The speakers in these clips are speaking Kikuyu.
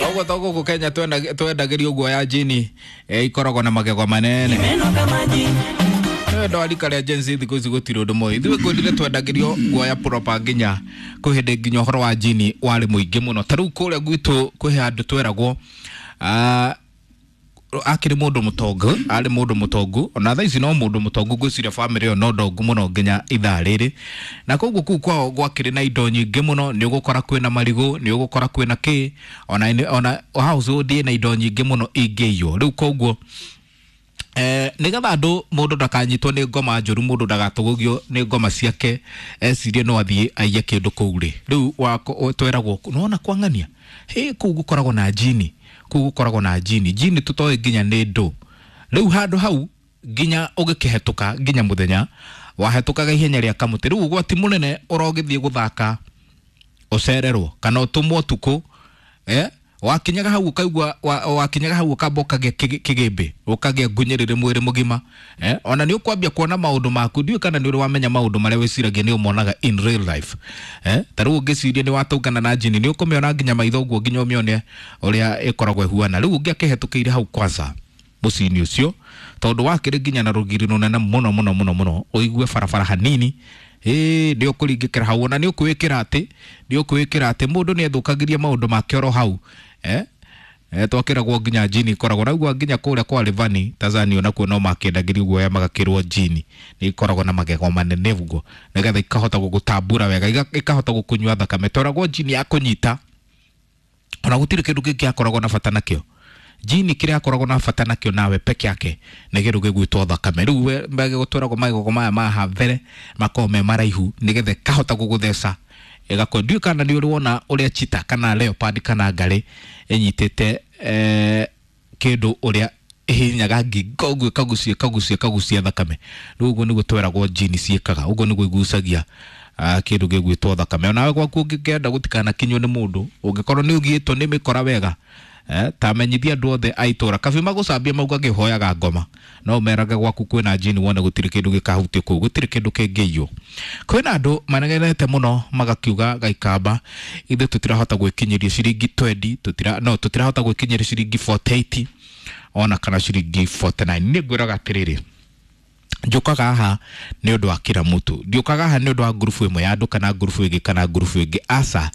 Koguo to gũkũ Kenya twendagĩrio guoya jini ikoragwo na magego manene. Ndwari karĩa Gen Z thikũ ici gũtirĩ ũndũ moĩ. Ithuĩ ngwĩrire twendagĩrio guoya proper nginya kwĩ hĩndĩ nginya ũhoro wa jini warĩ mũingĩ mũno. Ta rĩu kũrĩa gwitũ kwĩ handũ tweragwo akĩrĩ mũndũ mũtongu, arĩ mũndũ mũtongu ona thaa ici no mũndũ mũtongu, ngwĩciria bamĩrĩ ĩyo no ndongu mũno nginya ithaa rĩrĩ. Na koguo kũu kwao gwakĩrĩ na indo nyingĩ mũno, nĩ ũgũkora kwĩna marigũ, nĩ ũgũkora kwĩna kĩ, ona household ĩna indo nyingĩ mũno ingĩiywo. Rĩu koguo nĩgetha andũ mũndũ ndakanyitwo nĩ ngoma njũru, mũndũ ndagatũgũgio nĩ ngoma ciake ecirie no athiĩ aiye kĩndũ kũu rĩ, rĩu tweragwo nĩwona kwang'ania hĩ kũu gũkoragwo na jini, kũu gũkoragwo na jini, jini tũtoĩ nginya nĩ ndũ. Rĩu handũ hau nginya ũgĩkĩhetũka nginya mũthenya wahetũkaga ihenya rĩa kamũtĩ. Rĩu ũgwati mũnene ũrogĩthiĩ gũthaka ũcererwo kana ũtũmwo ũtukũ, wakinyaga hau ũkaigua wakinyaga hau ũkamba ũkagĩa kĩgĩmbĩ, ũkagĩa ngunyĩrĩrĩ mwĩrĩ mũgima, ona nĩ ũkwambia kuona maũndũ maku. Ndiũĩ kana nĩ ũrĩ wamenya maũndũ marĩa wĩciragia nĩ ũmonaga in real life, ta rĩu ũngĩciria nĩ watũngana na jini nĩ ũkũmĩona nginya maitho ũguo nginya ũmĩone ũrĩa ĩkoragwo ĩhuana. Rĩu ũngĩ akĩhetũkĩire hau kwanza mũciĩ-inĩ ũcio, tondũ wakĩrĩ nginya na rũgiri rũnene mũno mũno mũno mũno, ũigue barabara hanini nĩ ũkũringĩkĩra hau, ona nĩ ũkwĩkĩra atĩ, nĩ ũkwĩkĩra atĩ mũndũ nĩ ethũkagĩria maũndũ make oro hau. Twakĩragwo nginya jini ikoragwo naguo nginya kũrĩa kwa Rivani Tanzania onakuo no makĩendagĩrio guoya magakĩrwo jini nĩ ikoragwo na magego manene ũguo nĩgetha ikahota gũgũtambura wega, ikahota gũkũnyua thakame. Tweragwo jini ya kũnyita ona gũtirĩ kĩndũ kĩngĩ akoragwo na bata nakĩo. Jini kĩrĩa akoragwo na bata nakĩo nawe peke yake nĩ kĩndũ gĩgwĩtwo thakame. Rĩu magĩgũtweragwo magego maya ma haha mbere makoragwo me maraihu nĩgetha ĩkahota gũgũtheca ĩgakũ. Ndiũĩ kana nĩ ũrĩ wona ũrĩa cheetah kana leopard kana ngarĩ ĩnyitĩte kĩndũ ũrĩa ĩhinyaga ngingo ũguo ĩkagucia ĩkagucia ĩkagucia thakame. Rĩu ũguo nĩguo tweragwo jini ciĩkaga, ũguo nĩguo igucagia kĩndũ gĩgwĩtwo thakame. Onawe gwaku ũngĩkenda gũtikanakinywo nĩ mũndũ, ũngĩkorwo nĩ ũgiĩtwo nĩ mĩkora wega, ta menyithia andũ othe a itũra kabi magũcambia mauga ngĩhoyaga ngoma, no ũmerage gwaku kwĩna jini wone gũtirĩ kĩndũ gĩkahutio kũu, gũtirĩ kĩndũ kĩngĩiywo. Kwĩna andũ manegenete mũno magakiuga Gaikamba ithuĩ tũtirahota gwĩkinyĩria ciringi 20, tũtirahota gwĩkinyĩria ciringi 48 ona kana ciringi 49. Niĩ ngwĩraga atĩrĩrĩ, njũkaga haha nĩ ũndũ wa kila mũtu, ndiũkaga haha nĩ ũndũ wa ngurubu ĩmwe ya andũ kana ngurubu ĩngĩ kana ngurubu ĩngĩ, aca,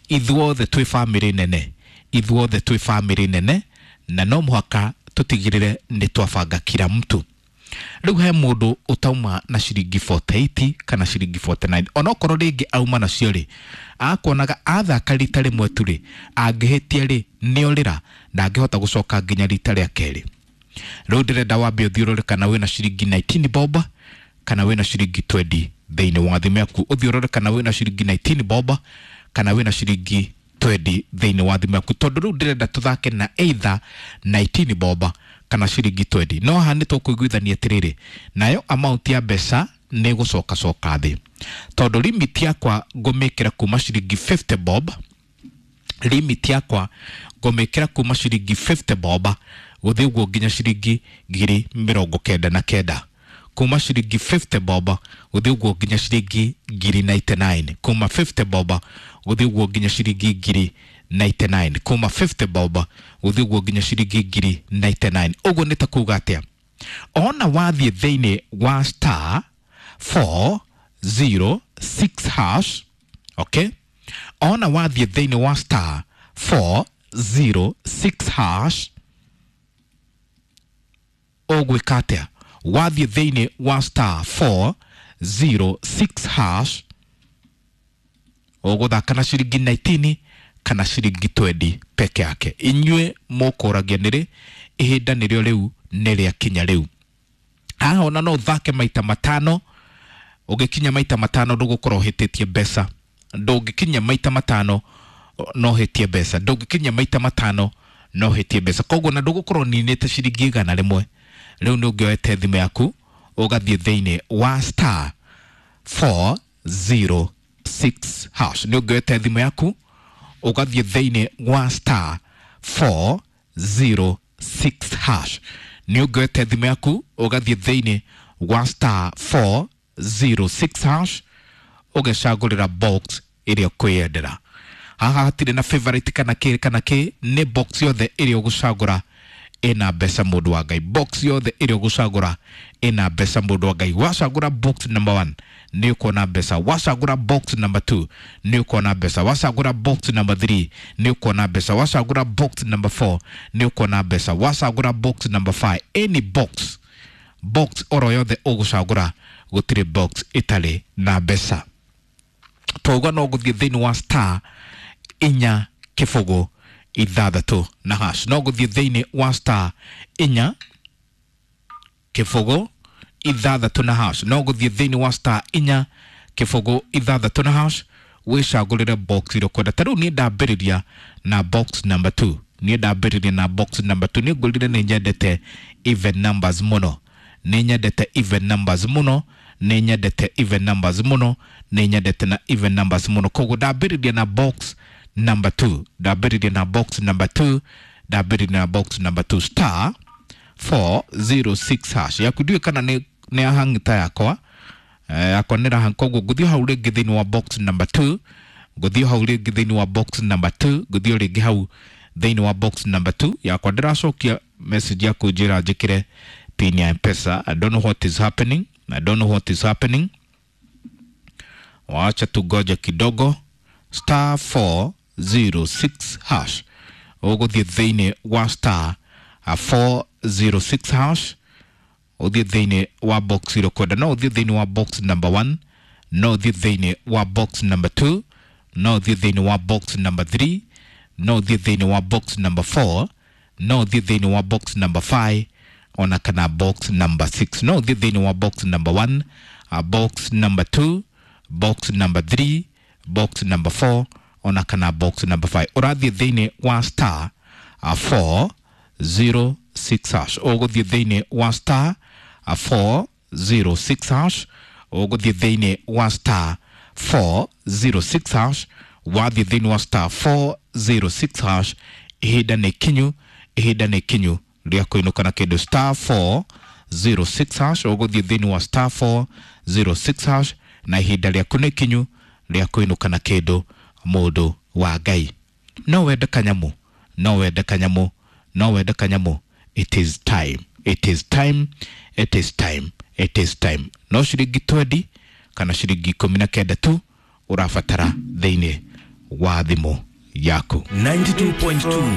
ithuothe twĩ bamĩrĩ nene, ithuothe twĩ bamĩrĩ nene na no mũhaka tũtigĩrĩre nĩ twabanga kila mtu. Rĩu he mũndũ ũtauma na ciringi 48 kana ciringi 49, onokorwo rĩngĩ auma nacio rĩ, akuonaga athaka rita rĩmwe tu rĩ, angĩhĩtia rĩ nĩ orĩra ndangĩhota gũcoka nginya rita rĩa kerĩ. Rĩu ndĩrenda wambe ũthiũrũre kana wĩna ciringi 19 bob kana wĩna ciringi 20 thĩinĩ wa thimũ yaku, ũthiũrũre kana wĩna ciringi 19 bob kana wĩna ciringi 20 thĩinĩ wa thimũ yaku, tondũ rĩu ndĩrenda tũthake na either 19 bob kana ciringi 20. No haha nĩ tũkũiguithania atĩrĩrĩ, nayo amount ya mbeca nĩ ĩgũcoka coka thĩ, tondũ limit yakwa ngũmĩkĩra kuma ciringi 50 bob, limit yakwa ngũmĩkĩra kuma ciringi 50 bob gũthiĩ ũguo nginya ciringi 99,000, kuma ciringi 50 bob gũthiĩ ũguo nginya ciringi 99,000, kuma 50 bob gũthiĩ ũguo nginya ciringi 99,000, kuma 50 bob gũthiĩ ũguo nginya ciringi 99,000. Ũguo nĩ ta kuga atĩa? Ona wathiĩ thĩinĩ wa star 406 hash, okay, ona wathiĩ thĩinĩ wa star 406 hash ũgwĩka atĩa? Wathiĩ thĩinĩ wa star 406 hash ũgũthaka na ciringi 19 kana ciringi 20 peke yake. Inyuĩ mũkũragia nĩrĩ, ihinda nĩrĩo rĩu nĩ rĩakinya rĩu. Haha ona no ũthake maita matano, ũngĩkinya maita matano ndũgũkorwo ũhĩtĩtie mbeca, ndũngĩkinya maita matano no ũhĩtie mbeca, ndũngĩkinya maita matano no ũhĩtie mbeca, koguo na ndũgũkorwo ũninĩte ciringi 100. Rĩu nĩ ũngĩoete thimũ yaku ũgathiĩ thĩinĩ wa star 406 hash, nĩ ũngĩoete thimũ yaku ũgathiĩ thĩinĩ wa star 406 hash, nĩ ũngĩoete thimũ yaku ũgathiĩ thĩinĩ wa star 406 hash ũgecagũrĩra box ĩrĩa ũkwĩyendera. Haha hatirĩ na favorite kana kĩ kana kĩ, nĩ box yothe ĩrĩa ũgũcagũra ĩna mbeca, mũndũ wa Ngai. Box yothe ĩrĩa ũgũcagũra ĩna mbeca, mũndũ wa Ngai. Wacagũra box number 1 nĩ ũkuona mbeca, wacagũra box number 2 nĩ ũkuona mbeca, wacagũra box number 3 nĩ ũkuona mbeca, wacagũra box number 4 nĩ ũkuona mbeca, wacagũra box number 5, any box, box oro yothe ũgũcagũra, gũtirĩ box ĩtarĩ na mbeca. Twauga no gũthiĩ thĩinĩ wa star 4 0 6 na hash, no gũthiĩ thĩinĩ wa star 4 0 6 na hash, no gũthiĩ thĩinĩ wa star 4 0 6 na hash, wĩcagũrĩre box ĩrĩa ũkwenda. Ta rĩu niĩ ndambĩrĩria na box number 2, niĩ ndambĩrĩria na box number 2. Niĩ ngwĩrire nĩ nyendete even numbers mũno, nĩ nyendete even numbers mũno, nĩ nyendete even numbers mũno, nĩ nyendete na even numbers mũno. Koguo ndambĩrĩria na box number 2, ndambĩrĩria na box number 2, ndambĩrĩria na box number 2, star 406 hash. Yaku ndiũĩ kana nĩ ahang'ita yakwa, yakwa nĩ rahang. Koguo ngũthiĩ hau rĩngĩ thĩinĩ wa box number 2, ngũthiĩ hau rĩngĩ thĩinĩ wa box number 2, ngũthiĩ rĩngĩ hau thĩinĩ wa box number 2. Yakwa ndĩracokia message ya kũnjĩra njĩkĩre pin ya M-Pesa. I don't know what is happening, I don't know what is happening. Wacha tugoje kidogo. Star 406 hash, ũgũthiĩ thĩinĩ wa star 406 hash, ũthiĩ thĩinĩ wa box ĩrĩa ũkwenda. No ũthiĩ thĩinĩ wa box number 1, no ũthiĩ thĩinĩ wa box number 2, no ũthiĩ thĩinĩ wa box number 3, no ũthiĩ thĩinĩ wa box number 4, no ũthiĩ thĩinĩ wa box number 5, ona kana box number 6. No ũthiĩ thĩinĩ wa box number 1, box number 2, box number 3, box number 4, ona kana box number 5. Ũrathiĩ thĩinĩ wa star 406 hash, ũgũthiĩ thĩinĩ wa star 406 hash, ũgũthiĩ thĩinĩ wa star 406 hash. Wathiĩ thĩinĩ wa star 406 hash, ihinda nĩ kinyu, ihinda nĩ kinyu rĩa kũinũka na kĩndũ. Star 406 hash, ũgũthiĩ thĩinĩ wa star 406 hash, na ihinda rĩaku nĩ kinyu rĩa kũinũka na kĩndũ, mũndũ wa Ngai. No wende kanyamũ, no wende kanyamũ, no wende kanyamũ. It is time, it is time, it is time, it is time. No ciringi 20 kana ciringi 19 tu ũrabatara thĩinĩ wa thimũ yaku. 92.2.